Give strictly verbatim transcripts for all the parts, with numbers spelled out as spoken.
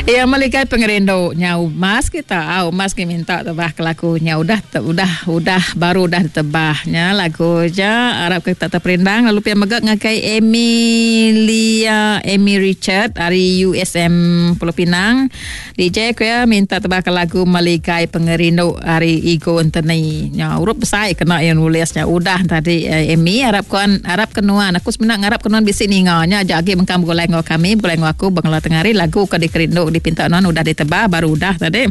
Ya meligai pengerindu nyau mas kita au mas ke minta tebah ke lagu nya udah te, udah udah baru udah ditebahnya lagu ja arap ke kita terperindang lalu pia mega ngagai Emilia Amy Richard dari U S M Pulau Pinang D J ku ya minta tebah ke lagu Meligai Pengerindu ari Igo Anthony. Nya urup besai kena yang nulisnya udah tadi Amy arap kuan arap kenuan aku sebenarnya ngarap kenuan bisi ninga nya aja agi mengkam begulai ngau kami begulai ngau aku bangla tengah hari lagu ke dikerindu dipinta nuan udah ditebah baru udah tadi.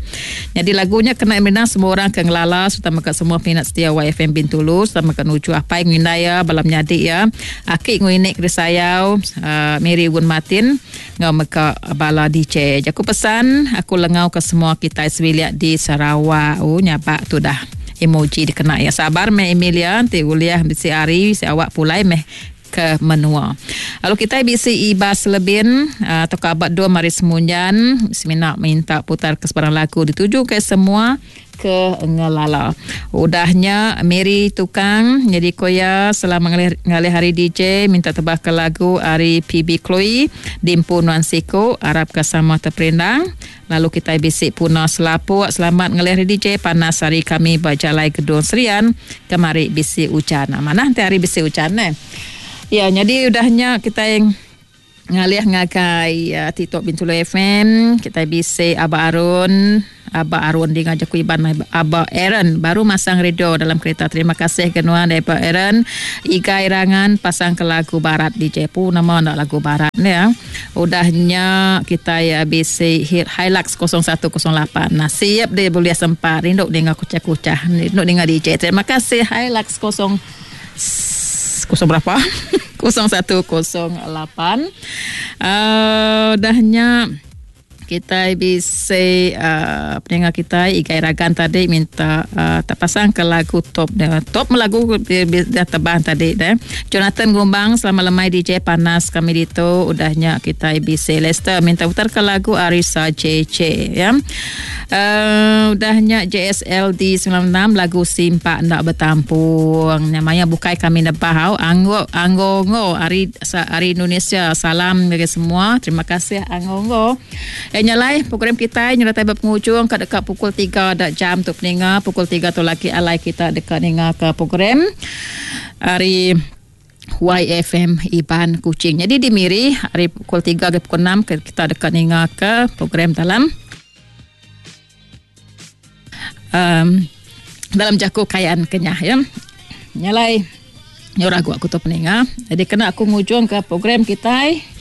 Jadi lagunya kena minang semua orang ke ngelala serta mega semua peminat setia Y F M Bintulu serta mega nuju apai ngindai ya balam nyadi ya. Aki nguinik ke sayau uh, Mary Gun Martin ngau mega bala D J. Jaku pesan aku lengau ke semua kita sebiliak di Sarawak. Oh nyabak tu dah emoji dikena ya. Sabar meh Emilia nanti uliah bisi hari si awak pulai meh ke menua. Lalu kita bisi Ibas Lebin atau kabat dua mari semunjan semina minta putar ke sebarang lagu dituju ke semua ke ngelala. Udahnya Mary Tukang jadi koya selama ngalih, ngalih hari D J minta tebah ke lagu ari P B Chloe Dimpu Nuan Siku arap ke sama terperindang. Lalu kita bisi Puna Selapuk selamat ngalih hari D J panas hari kami berjalai Gedung Serian kemari bisi hujan. Nah, mana nanti hari bisi hujan eh. Ya, jadi udahnya kita yang ngalih ngagai uh, TikTok Bintulu F M, kita bisi Abah Arun, Abah Arun di ngajak Iban Abah Aaron baru masang radio dalam kereta. Terima kasih kenuan daripada Aaron. Igai Rangan pasang ke lagu barat di Jepu nama nak lagu barat ni ya. Udahnya kita ya bisi hit Hilux kosong satu kosong lapan. Nah, siap dia boleh sempat rinduk dengar kucah-kucah, rinduk dengar D J. Terima kasih Hilux kosong kosong berapa? kosong satu kosong lapan. Uh, dahnya kita bisa uh, pendengar kita Igai Ragan tadi minta uh, tak pasang ke lagu top dia. Top lagu dia, dia tebang tadi dah. Jonathan Gumbang selamat lemai D J panas kami ditu udahnya kita bisa Lester minta putar ke lagu Arisa J J ya. Uh, udahnya J S L D sembilan enam lagu Simpak Ndak Bertampung. Namanya bukai kami nebah au Anggo Anggongo ari ari Indonesia. Salam bagi semua. Terima kasih Anggongo. Eh nyalai program kita nyertai berpenghujung kat dekat pukul tiga dak jam tu peninga pukul tiga tu lagi alai kita dekat ninga ke program hari Y F M Iban Kuching. Jadi di Miri hari pukul tiga ke pukul enam kita dekat ninga ke program dalam um, dalam jaku kayaan kenyah ya. Nyalai nyurah gua aku tu peninga. Jadi kena aku ngujung ke program kita.